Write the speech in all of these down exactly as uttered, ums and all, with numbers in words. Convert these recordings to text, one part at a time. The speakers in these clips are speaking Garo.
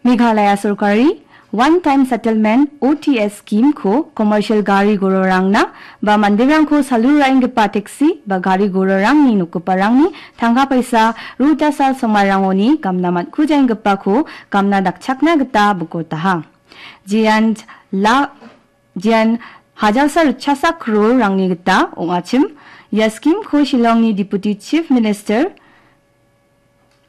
Meghalaya sorkari One Time Settlement, O T S, scheme-ko commercial gari gororangna ba manderangko salu ra·enggipa taxi ba gari gororangni nokgiparangni tangka paisa ruta sal somairangoni gamna man·kujaenggipako gamna dakchakna gita bikotaha. Jean la-, jean hajalsa ritchasa crore-rangni gita ong·achim. Ia scheme-ko Shillongni Deputy Chief Minister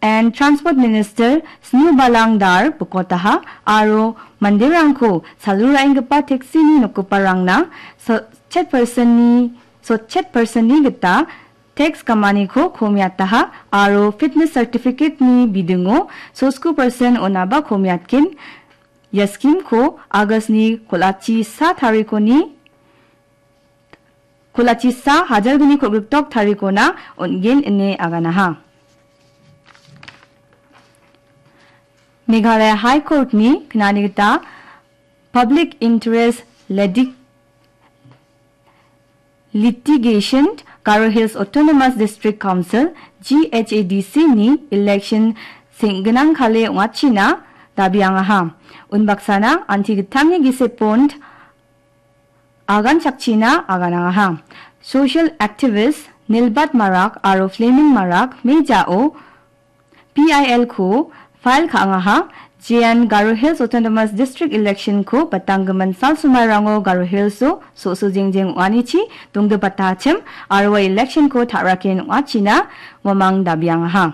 and Transport Minister Snewbalang Dhar bikotaha aro manderangko salu ra·enggipa taxi-ni nokgiparangna sotchet percent-ni, sotchet percent-ni gita tax gamaniko komiataha aro fitness certificate-ni bidingo sotsko percent onaba komiatgen. Ia scheme-ko August-ni kol·achi sa tarikoni, kol·achi sa hajalgni kolgriktok tarikona on·gen ine aganaha. Meghalaya High Court-ni knani gita Public Interest Liti-, Litigation, Garo Hills Autonomous District Council, G H A D C-ni election senggnang kale ong·achina dabiangaha. Unbaksana anti gittamni gisepon aganchakchina aganangaha. Social activist Nilbat Marak aro Fleming Marak mejao P I L-ko file ka·angaha. Jean Garo Hills Autonomous District election-ko batanggimin sal somairango Garo Hills-o so·so jengjeng ong·anichi dongdipatachim aro ua election-ko ta·raken ong·achina uamang dabiangaha.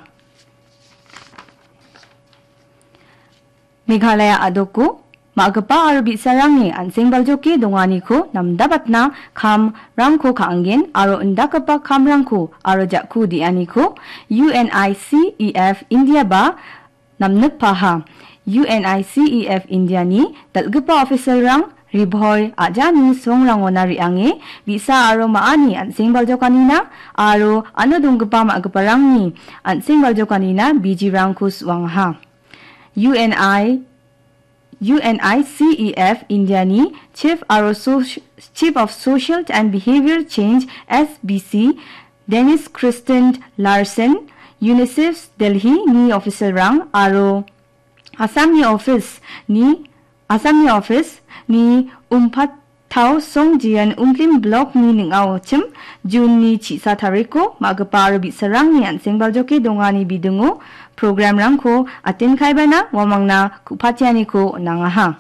Meghalaya a·doko ma·gipa aro bi·sarangni an·seng baljoke donganiko namdabatna kamrangko ka·angen aro indakgipa kamrangko aro ja·ku de·aniko U N I C E F India-ba namnikpaha. U N I C E F India-ni dal·gipa officer-rang Ri Bhoi a·jani songrangona re·ange bi·sa aro ma·ani an·seng baljokanina aro ano donggipa ma·giparangni an·seng baljokanina bijirangko su·angaha. U N I, U N I C E F India-ni Chief aro Soc-, Chief of Social and Behavior Change, S B C, Dennis Christian Larsen, UNICEF Delhi-ni officer-rang aro Assamni office-ni, Assamni office-ni Umpat Tao Songjian Umplim Block-ni ning·aochim June-ni chisa tariko ma·gipa aro bi·sarangni an·seng baljoke dongani bidingo program-rangko atenkaibana uamangna ku·patianiko on·angaha.